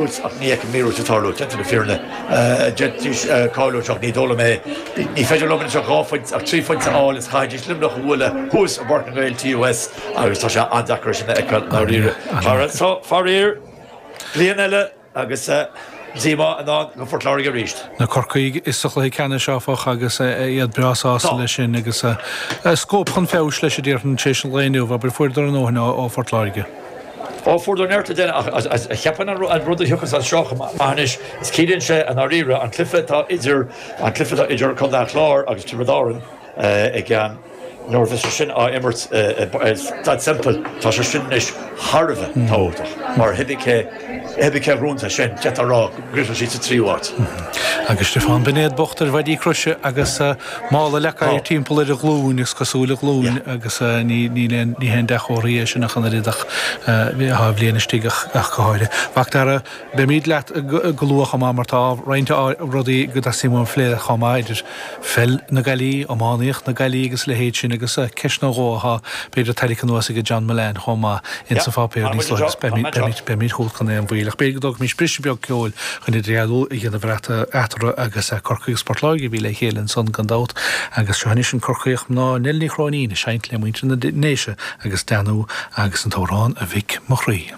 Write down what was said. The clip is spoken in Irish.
Ach ní fheicim míorúilt ag tarlú, déanta na fírinne. D'fhéadfaidís cáiliú anseo ach ní dóigh liom é. Ní féidir leo anseo 2 phointe ach 3 phointe a fháil is chaithfidís Luimneach a bhualadh thuas i bPáirc na nGael TUS agus tá sé an-deacair é sin a fheiceáil i ndáiríre. So, faraor, bliain eile agus díomá i ndán do Phort Láirge arís. Na Corcaígh sa chluiche ceannais áfach agus iad breá sásta leis sin agus scóip chun feabhais leis a déarfainn tar éis an lae inniu, abair, fuaireadar a ndóthain ó Phort Láirge. Ó, fuaireadar neart le déanamh ach cheapfainn an rud a thiocfas as seo chomh maith anois is ciallaíonn sé i ndáiríre an cluiche atá idir an cluiche atá idir Contae an Chláir agus Tiobraid Árann ag an nuair a bheas sé sin á imirt i Staid Semple tá sé sin anois thar a bheith tábhachtach mar cibé cé cibé cé a ghnóthaíonn é sin d'fhéadfá a rá go gcríochnóidh siad sa tríú háit. Agus Stiofán Binéad bocht ar mhaidí croise agus Mála leacair timpeall ar a ghlúin, is cosúil, a ghlúin agus ní ní haon dea-chomhartha é sin ach an oiread ach tá an bhliain istigh ach go háirithe. Macdara, beimid leat go luath chomh maith mar tá roinnt rudaí go dteastaíonn uaim a phlé chomh maith idir pheil na gcailíní, iománaíocht na gcailíní agus a leithéid sin agus ceist nó dhó atá b'fhéidir tarraingthe anuas ag John Mullane chomh maith ins an pháipéar níos luaithe agus beimid chugat gan aon mhoill. Ach b'fhéidir go dtógfaimis briseadh beag ceoil chun idirdhealú a dhéanamh eatarthu agus Corcaigh agus Port Láirge a bhí le chéile ansan gan dabht agus seo anois an Corcaíoch mná Nell Ní Chróinín ag seinnt le muintir na nDéise agus Danú agus an t-amhrán A Mhic Mo Chroí.